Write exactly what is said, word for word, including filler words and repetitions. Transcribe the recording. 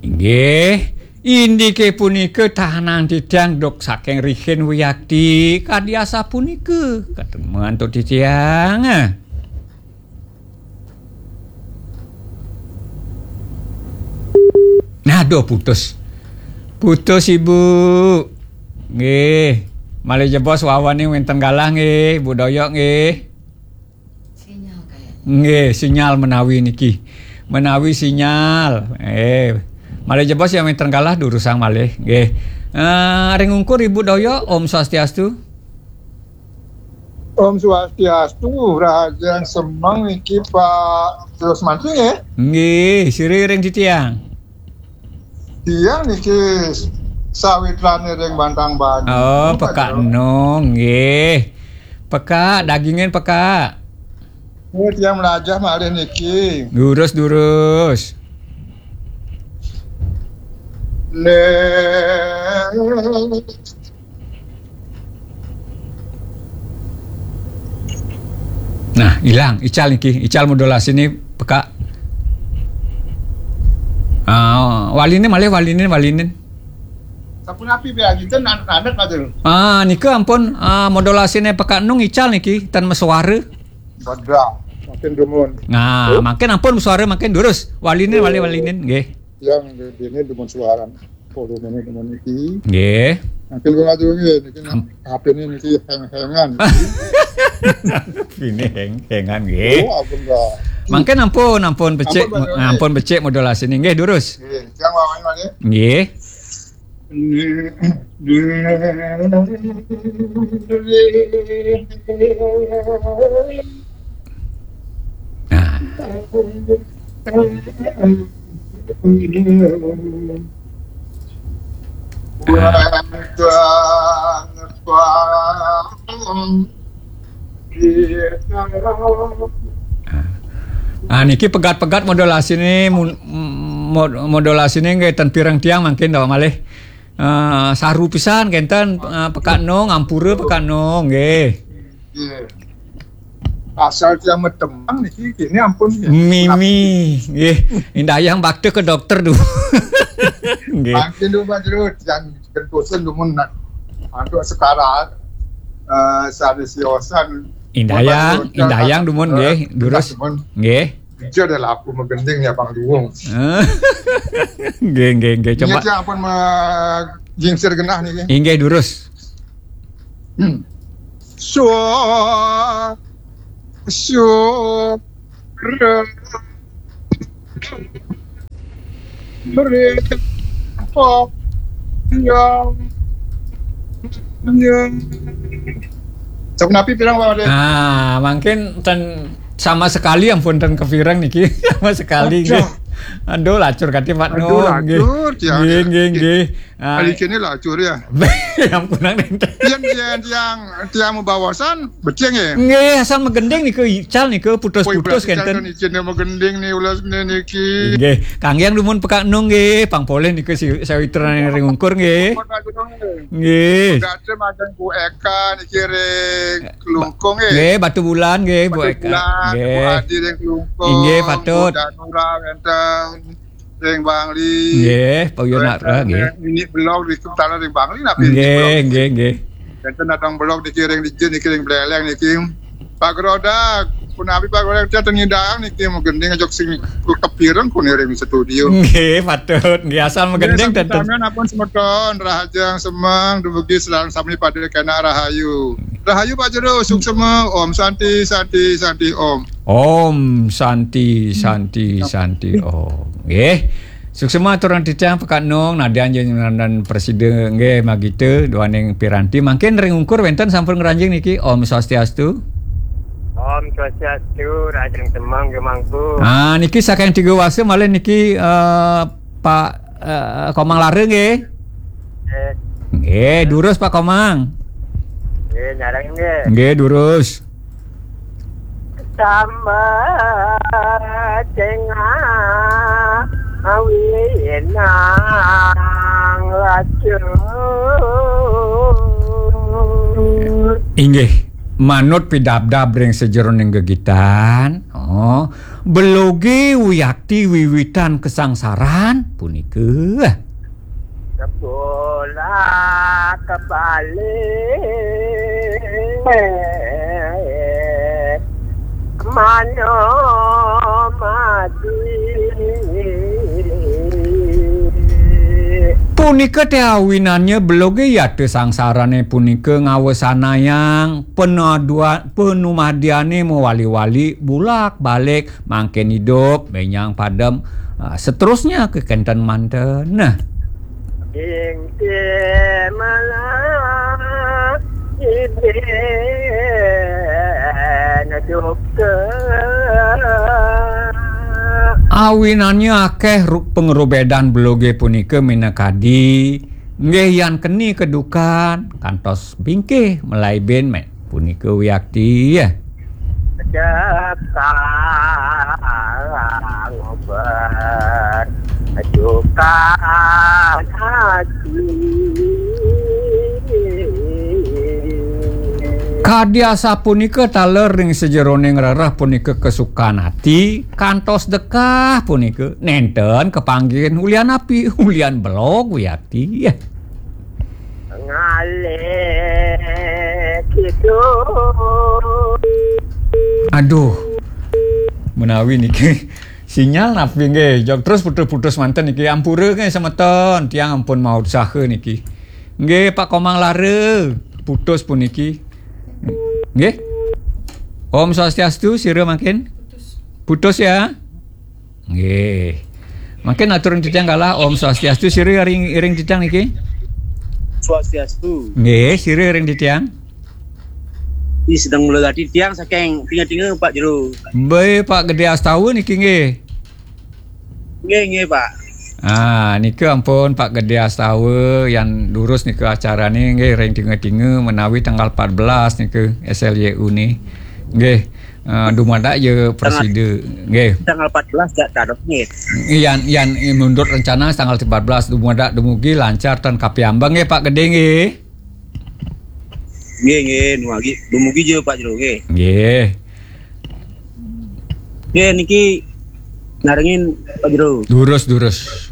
Inggih, indiké punika tahanan titiang duk saking rihin wiakti kadi asapunika. Katemuan antuk titiang. Ah. Aduh, putus. Putus, Ibu. Nggih. Malih jebos wawaning wénten galah nggih, Bu Doyok nggih. Sinyal kayaknya. Nggih, sinyal menawi niki. Menawi sinyal. Eh, malih jebos yang wénten galah durusang malih. Nggih. Eh, ring ungkur Ibu Doyok, Om Swastiastu. Om Swastiastu, Rahajeng Semeng niki Pak Terus Mancing ya? Nggih, sira ring titiang. Tiang niki sawitrane ring Bantang Banyu. Oh, pekak Pak Jero. Enung, nggih. Pekak, dagingin pekak. Oh, tiang melajah malih niki. Durus, durus. Nek Nah, ilang. Ical niki, ical modulasi ni pekak. Ah, walinen malih, walinen, walinen. Sapunapi biar kita nan-, adat, Pak Jero. Ah, nika ampun, ah, modulasi ni pekak enung ical niki, tan mesuara. Badra, makin dumun. Nah, makin ampun suara makin durus. Walinen, malih, walinen, nggih. Yang di-, dini dumun suara. Volume ini dumun niki. Nggih. Makin kula atur nggih, niki Am- H P ini niki heng-hengan. Ini heng-hengan, nggih. Oh, ampun, Pak. Mangkin ampun, ampun becik, ampun, Pak Jero. Ampun becik modulasi ini. Nggih, durus. Nggih, yang lawan malih. Nggih. Nah. Ah, niki pegat-pegat modulasi ni, mun-, mod-, modulasi ni nggih ten pireng tiang mangkin dah malih. Eh, saru pisan kenten, eh, pekak enung, ampura pekak enung nggih. Nggih. Asal tiang metemang niki kene ampun ya. Mimi, nggih. Indayang bakta ke dokter dulu. Nggih. Mangkin dulu Pak Jero, tiang gentosan dumun nak. Antuk sekara, eh, sari siosan. Indayang, Pak Jero, indayang tiang dumun nggih, eh, durus. Dumun. Nggih. Ija dah laku magending ya Bang Duwung. Nggih, nggih, nggih. Coba. Ingat ya ampun ma-, jingsir genah niki. Inggih, durus. Hmm. Swa-, swa-, Sapunapi pirang, Pak Wade? Ah, mangkin ten sama sekali ampun ten kepireng niki. Sama sekali nggih. Aduh. Aduh, lacur kati Pak Aduh, Nung, nggih. Lacur, tiang, nggih, ya. Nggih, nggih. Ah. Kali kene lacur ya. Yang kurang enten. Yen, yen tiang, tiang mabaosan, becik nggih. Nggih, asal magending nika ical nika putus-putus kenten. Ical nika magending ni ulas ni niki. Nggih, kangge dumun pekak enung nggih, pang polih nika si sawitra ring ungkur nggih. Nggih. Gatra majeng Bu Eka niki ring Klungkung nggih. Nggih, Batu Bulan nggih, Bu Eka. Batu Bulan, nggih. Bu Adi ring Klungkung. Inggih, patut. Bu Danura wenten. Ring Bangli. Nggih, Pak Uyo nak nggih. Ini belog di Kutala ring Bangli napi ini belog. Nggih, nggih. Enten datang belog dikiring di jin, dikiring beleleng niki. Pak Gerodak, punapi Pak Gerodak, tiang tengidang niki mungkin dia ngajak sing kepireng kuni ring studio. Nggih, patut. Nggih, asal magending. Nggih, ten-, sampeyan ampun semeton, rahajeng semeng, dumugi selalu sami pada kena rahayu. Rahayu Pak Jero, suksema, Om Santi, Santi, Santi, Om. Om Santi, Santi, Santi, Om. Nggih. Suksema aturang titiang pekak enung, nadyan jenengan presida nggih magita duaning piranti. Mangkin ring ungkur wenten sampun ngranjing niki. Om Swastiastu. Om Swastiastu, rahajeng semeng nggih mangku. Ah, niki saking Tiga Wasa malih niki, eh, Pak, eh, Komang Lara nggih. Nggih. Nggih, durus Pak Komang. Nggih, nyareng nggih. Nggih, durus. Sama tengah awinang lacur. Inggih, manut pidabdab ring sajeroning gegitan. Oh, Beloge wiakti wiwitan kasangsaran punika. Kebolak kebalik, mano mati. Punika te awinannya beloge yata sangsarane punika ngawesanayang penadua-, penumadiane mawali-wali bulak-balik mangkin idup, menyang padem, ah, seterusnya kekenten manten. Nah. Ingkih malah iben duka. Awinannya akeh ru-, pangrobedan beloge punika minakadi, nggih, yan keni kedukan, kantos bingkih malai ben me-, punika wiakti, ya. Sekarang berduka hati. Kadi asapunika taler ring sajeroning rereh punika kasukan ati, kantos dekah punika nenten kapanggihin ulian api, ulian belog wiakti. Ngalih kidul. Aduh. Menawi niki sinyal napi nggih, jog terus putus-putus manten niki. Ampura nggih semeton, tiang ampun mausaha niki. Nggih, Pak Komang Lara, putus puniki. Nggih. Om Swastiastu, sira mangkin. Putus ya. Nggih. Mangkin atur titiang galah, Om Swastiastu, sira ring, ring titiang niki. Swastiastu. Nggih, sira ring titiang. Ini sedang mula tadi tiang saking tinga-tinga Pak Jero. Baik, Pak Gede Astawa niki nggih. Nggih, nggih, Pak. Ah, nika ampun Pak Gede Astawa yang durus nika acarane nggih ring tinga-tinga menawi tanggal empat belas nika S L Y U ni. Nggih. Ah, dumadak ya presida. Nggih. Tanggal empat belas gak dados nggih. Yan, yan menurut rencana tanggal empat belas dumadak dumugi lancar tan kapiambang nggih Pak Gede nggih. Nggih, nggih, dumugi, dumugi ja Pak Jero nggih. Nggih. Nggih, niki narengin Pak Jero. Durus, durus.